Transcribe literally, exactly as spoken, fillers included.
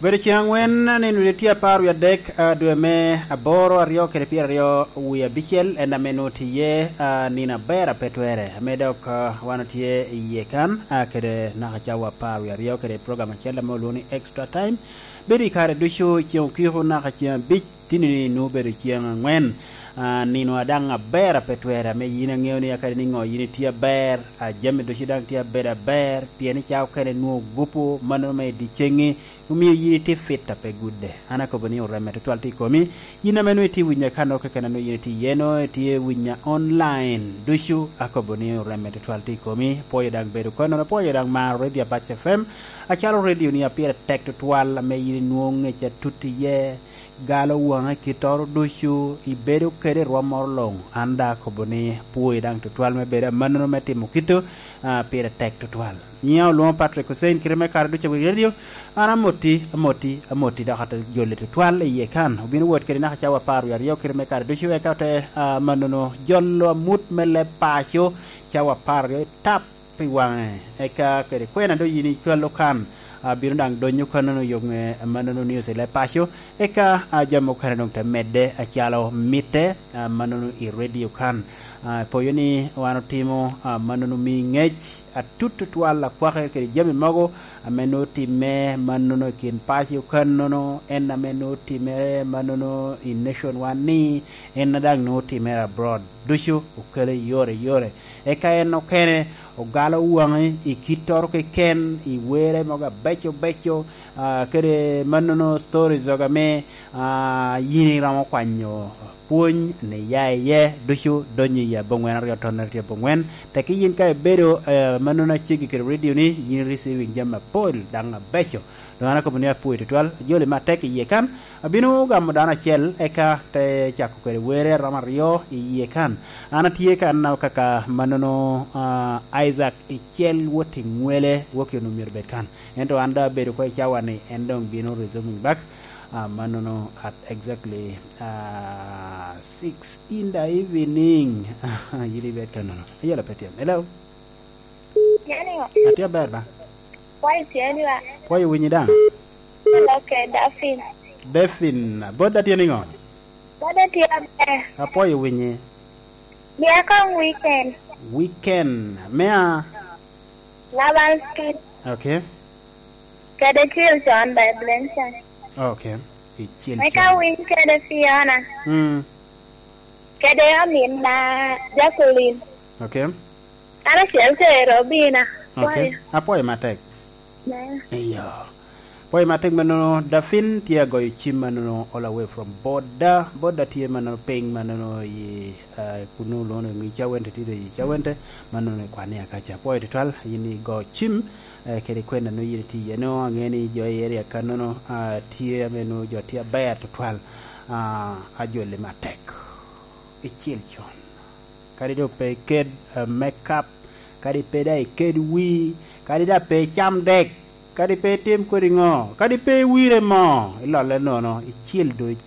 Obedo ceŋ angwen, nino dwe tye apar wie adek, ah, dwe me aboro, aryo kede pyeraryo wie abicel, en ame nwoŋo tye iye, ah, nino aber a pe twere, ame dok, ah, wan otye iye kan, ah, kede naka cawa apar wie aryo kede program acel ame olwoŋo ni Extra Time. Bedo i kare ducu ceŋ okiko naka ceŋ abic, tini-ni nwoŋo obedo ceŋ angwen. Ah, nino a daŋ aber a pe twere, ame yin aŋeo ni akadi niŋo yin itye aber, ah, jami ducu daŋ tye abedo aber, pien i ca okene nwoŋo gupu, mano me i dyeceŋŋi, omio yin itye fit a pe gudde. An akobo ni oremme tutwal tye i komi. Yin ame nwoŋo itye winya ka noko keken a nwoŋo yin itye iye no, itye winya online ducu, akobo ni oremme tutwal tye i komi. Pwoyo daŋ bedo konono, pwoyo daŋ maro Radio Apac F M, acalo radio ni a pire tek tutwal, ame yin inwoŋo ŋec atut iye, galo waŋe kittoro ducu, ibedo kede i rwom moro luŋ. An daŋ akobo ni pwoyo daŋ tutwal me bedo amannono me timo kito, ah, pire tek tutwal. Nyiŋa olwoŋo Patrick Hussein, kite me kare ducu a wi radio. An amoti, amoti, amoti, dok ate joli tutwal i iye kan. Obino wot kede naka cawa apar wie aryo kite me kare ducu, eka ote, ah, mannono jolo amut me leb paco cawa apar aryo i tap i waŋe. Eka kede kwena doŋ yin icwalo kan, ah, bino daŋ donyo kannono yo ŋe mannono news i leb paco. Eka, ah, jami okene doŋ te medde acalo mitte, ah, mannono i radio kan. Ah, poyo ni wan otimo, ah, mannono mi ŋec atut tutwal akwake kede jami mogo ame nwoŋo timme mannono i kin paco kannono, en ame nwoŋo timme mannono i nation wan ni, en a daŋ nwoŋo timme abroad. Ducu okele i yore i yore. Eka en okene ogalo waŋi i kittoro keken, i were mogo abeco beco, ah, kede mannono stories oga me, ah, yin iromo kwanyo pwony ni ya iye, ducu donyo i aboŋwen aryo tonere tye aboŋwen. Teki yin ka ibedo, eh, mannono aceggi kede radio ni, yin receiving jami apol daŋ abeco. Doŋ an akobo ni apwoyo tutwal, ajoli me atek i iye kan, abino gamo dano acel, eka te cako kede were romo aryo i iye kan. An atye kan kaka mannono, ah, Isaac Icel wot i Ŋwele, wok i onwoŋo myero bed kan. Ento an doŋ abedo oko i cawa ni, en doŋ bino resuming back, ah, mannono at exactly, ah, six in the evening. Yin ibed kannono. Ayela pe tyen. Hello? Atye aber ba? Kwayo tye ni ba? Kwayo winyi daŋ? Hello, ke Dafin. Dafin, bot da tye niŋo? Bot da tye aber. Apwoyo winyi. Mia kong weekend. Weekend. Mea? Laban Street. Okay. Kede Cil Con by Blenson. Okay. Icil Con. Meka winy kede Fiona. Mm. Kede amin na Jacqueline. Okay. An acel kede Robina. Okay. Kwayo. Apwoyo matek. Ne. Iyo. Pwoyo matek mannono, Dafin tye agoyo cim mannono all the way from Boda. Boda tye mannono piny mannono i, ah, kunu lono i Cawente, tye i Cawente, mannono i Kwania kaca. Pwoyo tutwal, yin igo cim, eh, kede kwena no yin itye iye no, ange ni jo i area kannono, ah, tye ame no jo tye aber tutwal, ah, ajoli matek. Icil Con. Kadi doŋ pe iked, eh, makeup, kadi pe daŋ iked wii, kadi daŋ pe icam dek, kadi pe itim kodi ŋo, kadi pe iwire mo, ilolle nono, icil duc.